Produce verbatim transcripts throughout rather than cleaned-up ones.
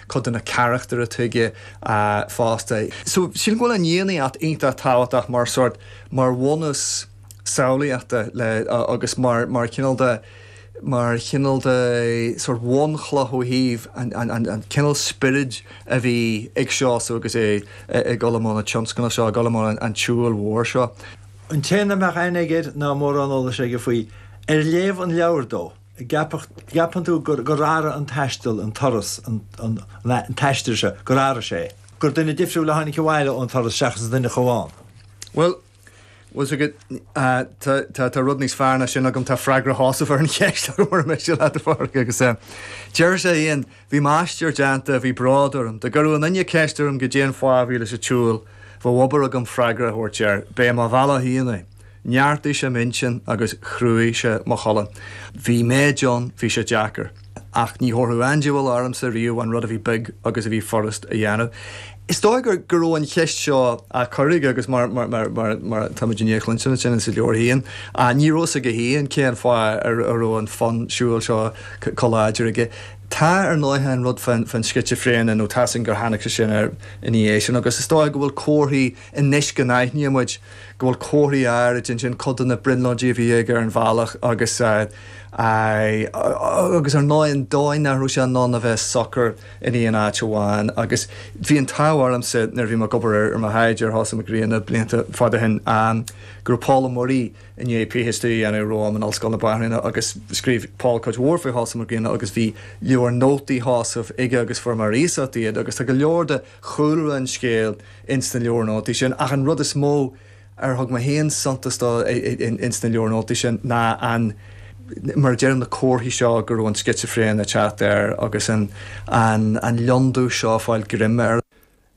cuid de na carachtair a tuige fosta. So sílim go bhfuil an Fhiannaíocht iontach tábhachtach mar sort mar bhunús samhlaíochta le agus mar mar chineál de mar chineál de sort bhunchloch ó thaobh an, an, an, an cineál spioraid a bhí ag Seosamh agus é ag dul i mbun an tionscnaimh seo, ag dul i mbun an, an tsiúil mhór seo. An té nach mbeadh aithne aige air ná mórán eolais aige faoi, ar léamh an leabhair dó, gceapann tú gur gur athraigh an taisteal, an turas, an, an, an t-aistear seo, gur athraigh sé, gur duine difriúil a tháinig abhaile ón turas seachas an duine a chuaigh ann. Well, bhfuil agat tá rud níos fearr ná sin agam tá freagra Sheosaimh ar an cheist mar mé le agus deir sé féin bhí m'aistear déanta bhí bród orm, Dá gcuirfeadh aon duine ceist orm goidé an fáth a bhí leis an tsiúl, bheadh obair agam freagra a thabhairt air, B'é mo bhealach féin é. Neartaigh sé m'intinn agus chruthaigh sé mo cholainn. Bhí méid ann, bhí sé deacair. Ach ní thabharfadh aon diabhal ormsa riamh an rud a bhí beag agus a bhí furast a dhéanamh. Is dóigh gur go raibh an cheist seo á cur aige agus mar mar mar mar mar táimid i ndiaidh cluinstin sin sa leabhar féin, ní raibh a fhios aige féin cén fáth a raibh an fonn siúil seo chomh láidir aige. Tá ar ndóigh an rud fán fán scitsifréine nó tá sin gur tháinig sé sin air ina dhiaidh sin agus is dóigh go bhfuil comharthaí anois go n-aithníonn muid go bhfuil comharthaí áirid ansin cuid de na brionglóidí a bhí aige ar an bhealach agus agus ar ndóigh an dóigh nach raibh sé in ann a bheith socair in aon áit amháin agus bhí an t-ádh ormsa nuair a bhí mé ag obair ar mo thaighde ar Sheosamh Mac Grianna blianta fada ó shin go raibh Pól Ó Muirí i ndiaidh PhD a dhéanamh romham in Ollscoil na Banríona agus scríobh Paul cuid mhór faoi Sheosamh Mac Grianna agus bhí leabhar nótaí Sheosaimh aige agus fuair mé ar iasacht iad agus tá go leor de chúlra an scéil ins na leabhair nótaí sin ach an rud is mó ar thug mé féin suntas dó ins na leabhair nótaí sin ná an mar a deirim na comharthaí seo go raibh an scitsifréine ag teacht air agus an an an lionndubh seo ag fáil greim air.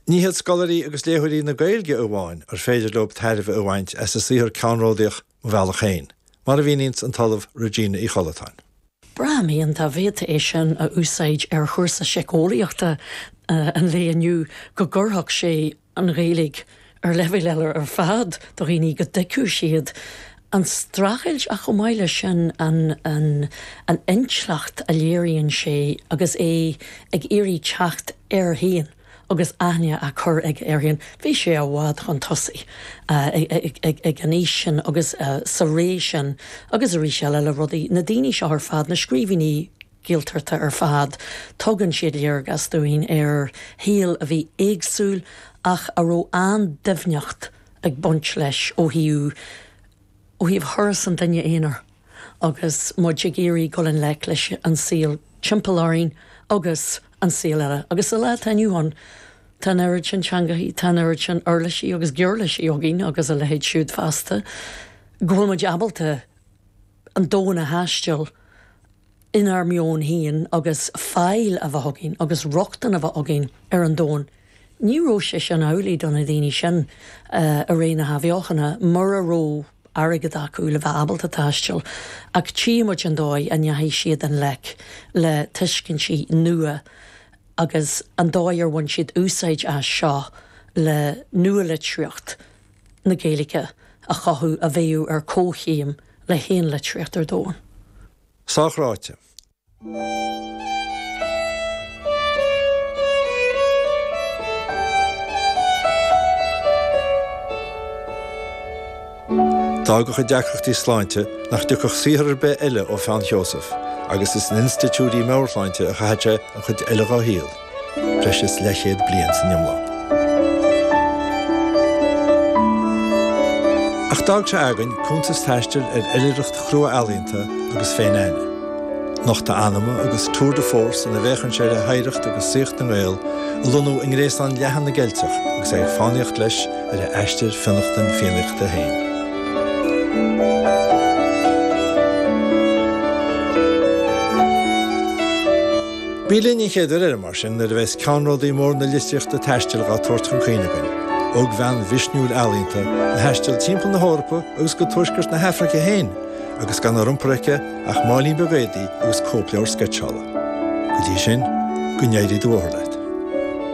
Ní hiad scoláirí agus léitheoirí na Gaeilge amháin ar féidir leo tairbhe a bhaint as a saothar ceannródaíoch Mo Bhealach Féin, mar a mhíníonns an tOllamh Regina Uí Chollatáin. Braithim dá bhféadfaí é sin a úsáid ar chúrsa síceolaíochta an lae inniu go gcuirfeadh sé an Ghaeilge ar leibhéal eile ar fad do dhaoine go dtuigfeadh siad an streachailt ach chomh maith leis sin an an an intleacht a léiríonn sé agus é ag iarraidh teacht air féin agus aithne á cur aige air féin. Bhí sé i bhfad chun tosaigh ag an aois sin agus sa ré sin agus arís eile le rudaí, na daoine seo ar fad, na scríbhinní Gaeltachta ar fad, tugann siad léargas dúinn ar shaol a bhí éagsúil ach a raibh an-doimhneacht ag baint leis ó thaobh ó thaobh thuras an duine aonair agus muid ag iarraidh dul i ngleic leis an saol timpeall orainn agus an saol eile. Agus sa lá atá inniu ann, tá an oiread sin teangachaí, tá an oiread sin uirlisí agus giuirlisí againn agus a leithéid siúd feasta, go bhfuil muid ábalta an domhan a thaisteal inár meon féin agus fáil a bheith againn agus rochtain a bheith againn ar an domhan. Ní raibh sé sin amhlaidh do na daoine sin i ré na hAthbheochana, mura raibh airgead acu le bheith ábalta taisteal, ach tchí muid an dóigh a ndeachaigh siad i ngleic le tuiscintí nua agus an dóigh ar bhain siad úsáid as seo le nualitríocht na Gaeilge a chothú a bheadh ar comhchéim le haon litríocht ar domhan. Sách ráite. D'fhág a chuid deacrachtaí sláinte nach dtiocfadh saothar ar bith eile ó pheann Sheosaimh agus is in institiúidí meabhairshláinte a chaith sé an chuid eile dá shaol, breis is leathchéad bliain san iomlán. Ach d'fhág sé againn cuntas taistil ar oilithreacht chrua ealaíonta agus féin-aithne. Nochtadh anama agus tour de force ina bhféachann sé le hoidhreacht agus saíocht na nGael a lonnú i ngréasán leathan na gCeilteach agus é ag fánaíocht leis ar a aistear fionnachtain Fiannaíochta féin. Bí linn an chéad uair eile mar sin nuair a bheas ceannródaí mór na litríochta taistil dhá tabhairt chun cuimhne againn, ógbhean mhisniúil ealaíonta a thaistil timpeall na hEorpa agus go tuaisceart na hAfraice féin agus gan ar iompar aici ach máilín beag éadaí agus cóipleabhar sceitseála. Go dtí sin, go n-éirí do bhóthar leat.